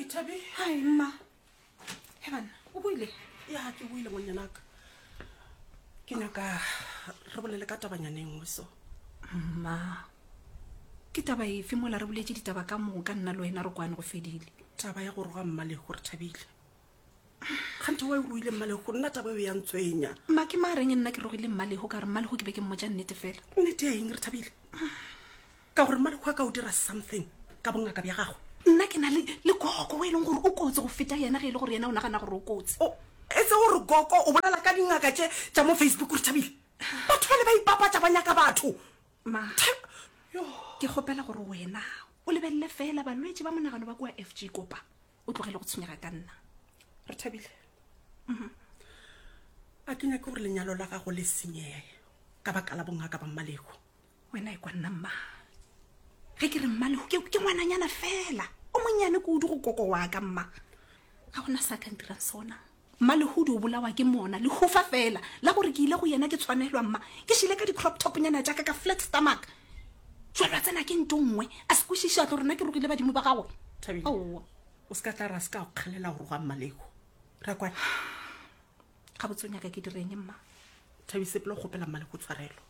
Thabi. Hai mma. He banna, o boile? Ya, ke boile ngwanyanaka. Ke nyaka re bolele ka tabanyana e nngwe so. Mma. Ke taba efe mola re boletše ditaba ka moka nna le wena re kwane go fedile. Taba ya go roga Mmalego re thabile. Kganthe wa e ruile Mmalego nna taba eo ya ntshwenya. Mma ke mareng nna ke rogile Mmalego ka re Mmalego ke be ke mmotša nnete fela. Nnete ya eng re thabile? Ka gore Mmalego a ka o dira something ka bongaka bja gagwe. Nna ke na le le koko o e leng gore o kotsi go feta yena ge e le gore yena o nagana gore o kotsi. O etse gore koko o bolela ka dingaka tše tša mo Facebook re thabile. Batho bale ba ipapatša ba nyaka batho. Ma, ke kgopela gore wena o lebelele fela balwetši ba monagano ba kua FG Kopa o tlogele go tshwenyega ka nna. Re thabile. Mhm. A ke nyake gore lenyalo la gago le senyege ka baka la bongaka ba Mmalego. Wena e kwa nna mma. Ge ke re Mmalego ke, ke ngwananyana fela o monnyane kudu go koko wa ka mma. Ga gona sa ka ntirang sona. Mmalehudi o bolawa ke mona, lehufa fela la gore ke ile go yena ke tshwanelwa mma. Ke šile ka di-crop top nyana tša ka ka flat stomach. Jwalo a tsena ke nto nngwe, a se kwešiše a tlo re nna ke rogile badimo ba gagwe. Thabile, Aowa. o se ka tla ra se ka go kgalela go roga Mmaleko. Re a kwana? Gabotse o nyaka ke direng mma? Thabi, sepela o kgopela Mmaleko tshwarelo.